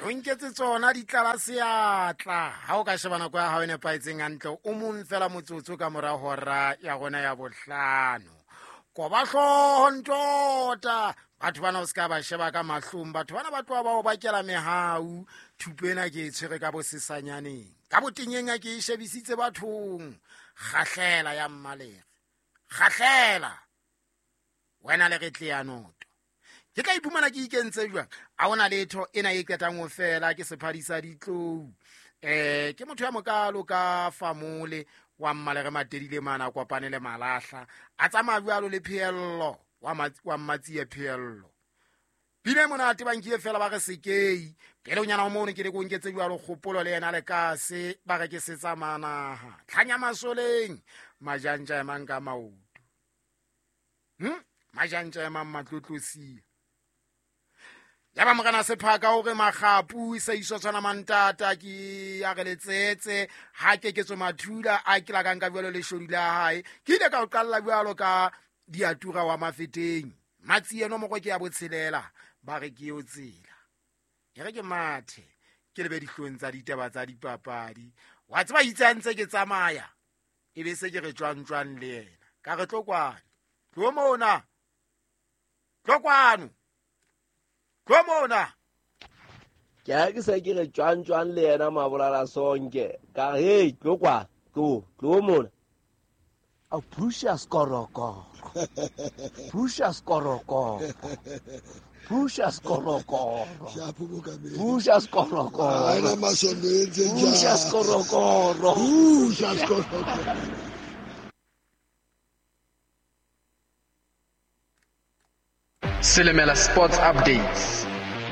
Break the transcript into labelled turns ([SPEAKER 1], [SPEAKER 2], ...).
[SPEAKER 1] O nketse tsona di tlala seatla. Ha o ka sheba nako ya hao e nepahetseng hantle, o mong fela motsotso ka mora hora ya rona ya bohlano. Koba hlooho ntota. Batho bana o se ka ba sheba ka mahlong. Batho bana ba tloha ba o bakela mehau. Thupo ena ke e tshwere ka bosesanyaneng. Ka botenyeng a ke e shebisitse bathong. Kgahlela ya mmalere. Kgahlela. Wena le re tle ya noto. Ke tla iphumana ke ikentse jwang? A ona letho ena e qetang ho fela ke sephadi sa ditlou. Ke motho ya mokalo ka famole wa mmalere matedile mana kopane le malahla. A tsamaya jwalo le pheello wa mmatsie pheello. Pina e monate ba nkile fela ba re sekei. Pele o nyana o mono ke le ko nketse jwalo kgopolo le yena le kase ba re ke setsa manaha. Tlhanya masoleng majantja emang ka maoto. Majantja emang matlotlosia. Ya ba morena Sephaka o re makgapu sa iso tshwana mantata ke a re letsetse ha ke ke tswe mathula a ke la ka nka jwalo leshodu la hae. Ke ile ka o qalla jwalo ka diatura wa mafeteng. Matsi eno moko ke ya botshelela ba re ke yo tsela. E re ke mathe ke lebe dihlong tsa ditaba tsa dipapadi. Wa tseba itse a ntse ke tsamaya e be se ke re tjwang tjwang le yena. Ka re tlo kwano. Tlo mona. Tlo kwano. Tlo mona.
[SPEAKER 2] Ke ha ke se ke re tjwang tjwang le yena mabolala sonke. Ka re, hey, tlo kwa, tlo, tlo mona. A phusha skorokoro. Phusha skorokoro. Phusha skorokoro. Phusha skorokoro.
[SPEAKER 3] Ana masondo e ntse jang.
[SPEAKER 2] Phusha skorokoro.
[SPEAKER 3] Phusha skorokoro.
[SPEAKER 4] Selemela Sports Updates.